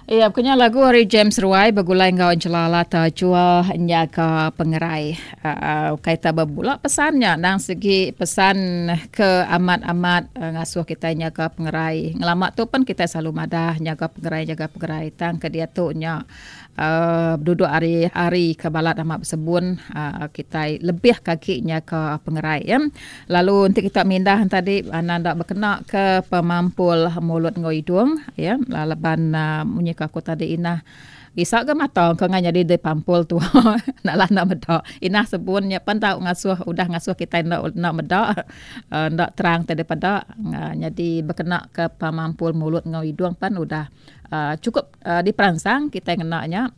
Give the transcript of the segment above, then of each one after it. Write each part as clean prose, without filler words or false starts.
Iya, pekenya lagu ari James Ruai begulai enggau Angela Lata Jua nyaga pengerai. Uh, ukai ta bebula pesan nya nang segi pesan ke amat-amat uh, ngasuh kita nyaga pengerai. Ngelama tu pun kita selalu madah nyaga pengerai, nyaga pengerai. Tang ke diatu nya Beduduk ari hari ke balat amat besebun kitai lebih ke agi nyaga pengerai ya. Lalu enti kita mindah tadi anang enda bekena ke pemampul mulut enggau idung ya laban munyi ke aku tadi inah isa ga mata ke ngai nyadi dipampul tuha enda lah enda meda. Inah sebun nya pen tau ngasuh udah ngasuh kitai enda enda meda enda terang ti dipeda nyadi bekena ke pemampul mulut enggau idung pen udah Chukup diperansang kitai ngena nya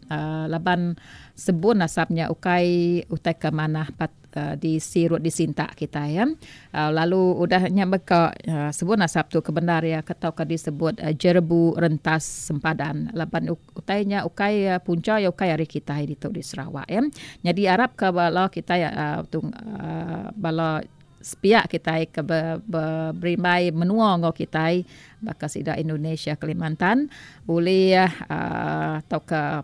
laban sebun asap nya ukai utai ke manah pat disirut disintak kitai ya. Lalu udah nya mega sebun asap tu ke bendar iya ke tauka disebut jerebu rentas sempadan laban utai nya ukai puncha iya ukai ari kitai ditu di Sarawak ya. Nyadi arap ka bala kitai bala Sepiak kitai ke berimbai menua enggau kitai baka sida Indonesia Kalimantan ulih tauka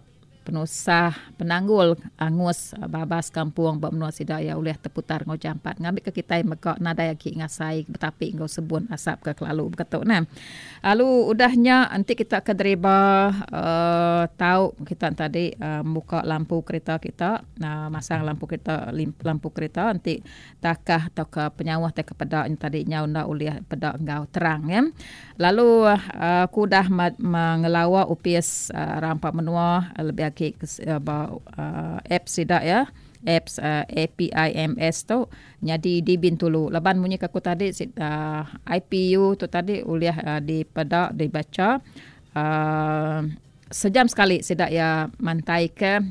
penusah penanggul angus babas kampung ba menua sida iya ulih teputar enggau jampat ngambika kitai mega nadai agi ngasai betapi enggau sebun asap ke kelalu beketu neh. Lalu udah nya enti kita ke deriba tau kita tadi muka lampu kerita kita masang lampu kerita lampu kerita enti Takah tauka penyauh tai ke peda nya tadi nyau enda ulih peda enggau terang ya. Lalu aku udah ngelawa opis rampa menua lebih agi ba apps sida ya apps APIMS tu nyadi di Bintulu laban munyi ke aku tadi IPU tu tadi ulih dipeda dibacha uhh sejam sekali sida iya mantaika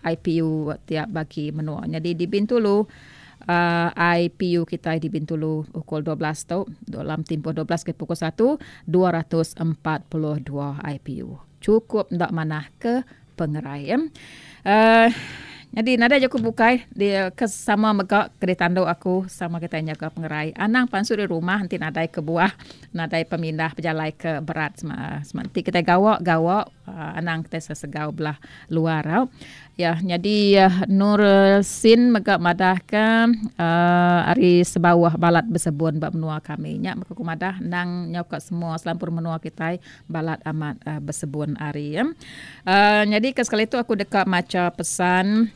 IPU tiap bagi menua. Nyadi di Bintulu IPU kitai di Bintulu pukul 12 tu dalam timpuh 12 ke pukul 1 242 IPU. Chukup enda manah ke pengerai. Uh, nyadi nadai jaku bukai dia ke sama mega ke ditandu aku sama kitai nyaga pengerai. Anang pansut di rumah enti nadai kebuah nadai pemindah pejalai ke berat sema sema enti kitai gawa gawa uh, anang kitai sesegau belah luar au. Ya nyadi Nur Sin mega madahka uh, ari sebauh balat besebun ba menua kami. Nya mega ku madah endang nyau ka semua selampur menua kitai Balat amat besebun ari. Nyadi ke sekali tu aku deka macha pesan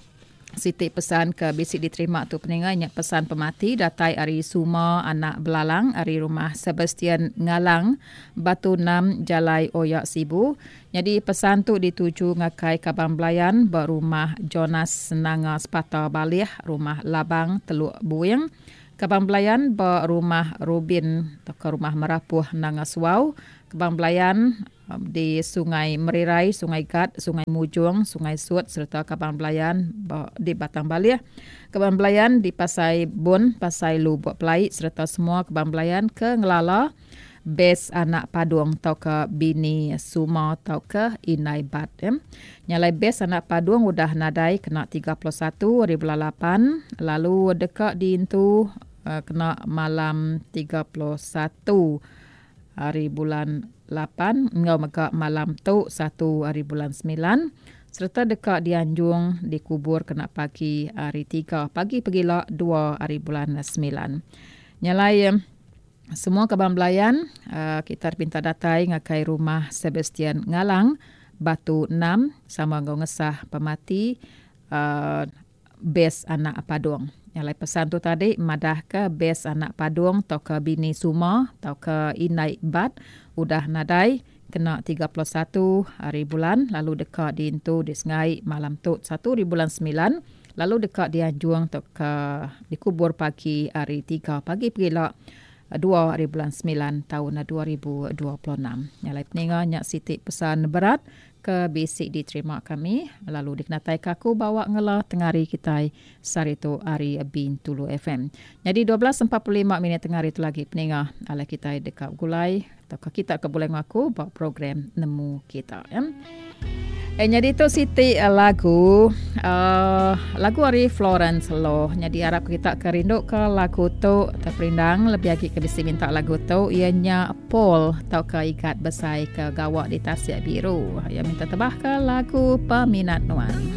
siti pesan ke bisi diterima tu peninga nya pesan pemati datai ari Suma anak Belalang ari rumah Sebastian Ngalang Batu Enam Jalai Oya Sibu. Nyadi pesan tu dituju ngagai kaban belayan ba rumah Jonas Nanga Sepata Balih rumah Labang Teluk Buing. Kabang Belayan ba Rumah Rubin tauka Rumah Merapuh Nanga Suau, Kebang Belayan di Sungai Merirai, Sungai Gat, Sungai Mujong, Sungai Sut sereta Kabang Belayan ba di Batang Balih, Kebang Belayan di Pasai Bun, Pasai Lubok Pelai sereta semua Kebang Belayan ke ngelala Bes anak Padung tauka bini Suma tauka Indai Bat. Nya alai bes anak Padung udah nadai kena 31 ari bulan lapan lalu deka diintu kena malam 31 ari bulan lapan enggau mega malam tu satu ari bulan semilan sereta deka dianjung dikubur kena pagi hari tiga pagi pegila dua ari bulan semilan. Nya alai Semua kaban belayan kita dipinta datai ngagai Rumah Sebastian Ngalang, Batu Enam sama enggau ngesah pemati Bes anak Padung. Nya alai pesan tu tadi madahka Bes anak Padung tauka bini Suma tauka indai Bat udah nadai kena 31 hari bulan lalu deka diintu di Sengai malam tu satu hari bulan semilan lalu deka dianjung tauka dikubur pagi hari tiga pagi pegila dua hari bulan semilan taun 2026. Nya alai peninga nya siti pesan berat ke bisi diterima kami lalu dikenataika aku bawa ngela tengari kitai sehari tu ari Bintulu FM. Nyadi 12.45 minit tengari tu lagi peninga alai kitai deka begulai tauka kita ke begulai enggau aku ba program Nemu Kita. Ya. Eh, nyadi tu siti eh, lagu uh, lagu ari Florence Loh. Nyadi arap kita ke rindu ke lagu tu terperindang lebih agi ke bisi minta lagu tu iya nya Paul tauka Igat Besai ke gawa di Tasik Biru. Iya minta tebah ke lagu Peminat Nuan.